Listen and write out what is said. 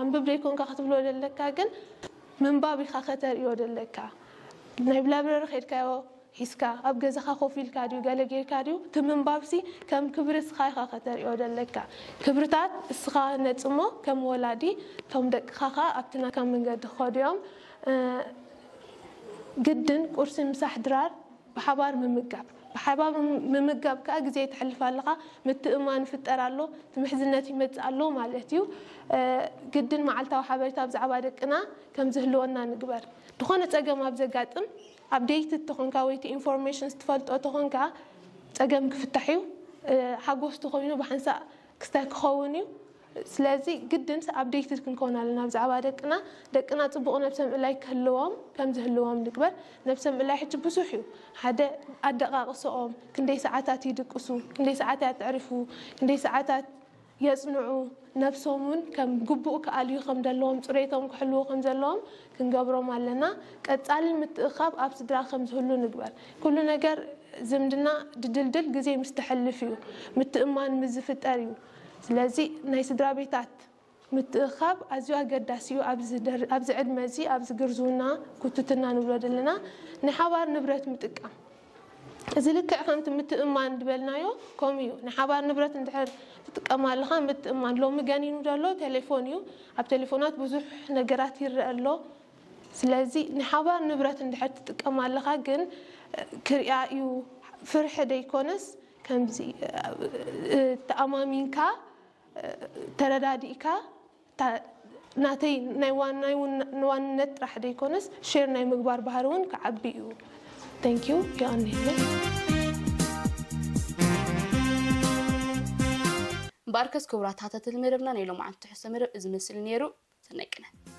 ኣንብብ ዘይኮንካ ክትብሎ ዘለካ ግን ምንባብ ኢኻ ከተርእዮ ዘለካ። ናይ ብላብረሪ ከድካዮ ሒዝካ ኣብ ገዛኻ ኮፍ ኢልካ ድዩ ገለ ጌርካ ድዩ? እቲ ምንባብሲ ከም ክብሪ እስኻ ኢኻ ከተርእዮ ዘለካ። ክብርታት እስኻ ነጽሞ ከም ወላዲ፣ እቶም ደቅኻ ኸኣ ኣብቲ ናትካ መንገዲ ክኸዱ እዮም። ግድን ቁርሲ ምሳሕ ድራር ብሓባር ምምጋብ። ብሓባር ምምጋብ ከኣ ግዜ ተሕልፍ ኣለኻ፣ ምትእማን ይፍጠር ኣሎ፣ ትምሕዝነት ይመጽእ ኣሎ ማለት እዩ። ግድን መዓልታዊ ሓበሬታ ብዛዕባ ደቅና ከም ዝህልወና ንግበር። ዝኾነ ጸገም ኣብ ዘጋጥም ኣፕዴይት ተኾንካ ወይ ኢንፎርሜሽን ትፈልጦ ተኾንካ ጸገም ክፍታሕ እዩ። ሓጎስ ተኾይኑ ብሓንሳእ ክስታይ ክኸውን እዩ። ስለዚ ግድን ኣፕዴይትድ ክንከውን ኣለና ብዛዕባ ደቅና። ደቅና ጽቡቕ ነብሰ ምእላይ ክህልዎም ከም ዝህልዎም ንግበር። ነብሰ ምእላይ ሕጂ ብዙሕ እዩ። ሓደ ኣደቃቕሰኦም፣ ክንደይ ሰዓታት ይድቅሱ፣ ክንደይ ሰዓታት የዕርፉ፣ ክንደይ ሰዓታት የጽንዑ፣ ነብሶም እውን ከም ግቡእ ክኣልዩ ከም ዘለዎም፣ ጽሬቶም ክሕልዉ ከም ዘለዎም ክንገብሮም ኣለና። ቀጻሊ ምትእኻብ ኣብ ስድራ ከም ዝህሉ ንግበር። ኩሉ ነገር ዝምድና ድድልድል ግዜ ምስ ተሕልፍ እዩ፣ ምትእማን ምስ ዝፍጠር እዩ። ስለዚ ናይ ስድራ ቤታት ምትእኻብ ኣዝዩ ኣገዳሲ እዩ። ኣብዚ ደር-፣ ኣብዚ ዕድመ እዚ፣ ኣብዚ ግርዝውና፣ ኩትትና ንብሎ ዘለና፣ ንሓባር ንብረት ምጥቃም። እዚ ልክዕ ከምቲ ምትእማን ዝበልናዮ ከምኡ እዩ። ንሓባር ንብረት እንድሕር ትጥቀም ኣለኻ፣ ምትእማን። ሎሚ ገኒኑ ዘሎ ቴሌፎን እዩ። ኣብ ቴሌፎናት ብዙሕ ነገራት ይረአ ኣሎ። ስለዚ ንሓባር ንብረት እንድሕር ትጥቀም ኣለኻ፣ ግን ክሪኣ እዩ፣ ፍርሒ ደይኮነስ ከምዚ፣ እ፣ ተኣማሚንካ፣ እ፣ ተረዳዲእካ፣ እታ ናተይ ናይ ዋን-፣ ናይ ውን-፣ ንዋንነት ጥራሕ ደይኮነስ ሼር ናይ ምግባር ባህሪ እውን ክዓቢ እዩ። Thank you። የቐንየለይ። እምበኣርከስ ክቡራት ተኸታተልቲ መደብና፣ ናይ ሎማዓንቲ ትሕዝቶ መደብ እዚ መስል ነይሩ። ሰናይ ቅነ።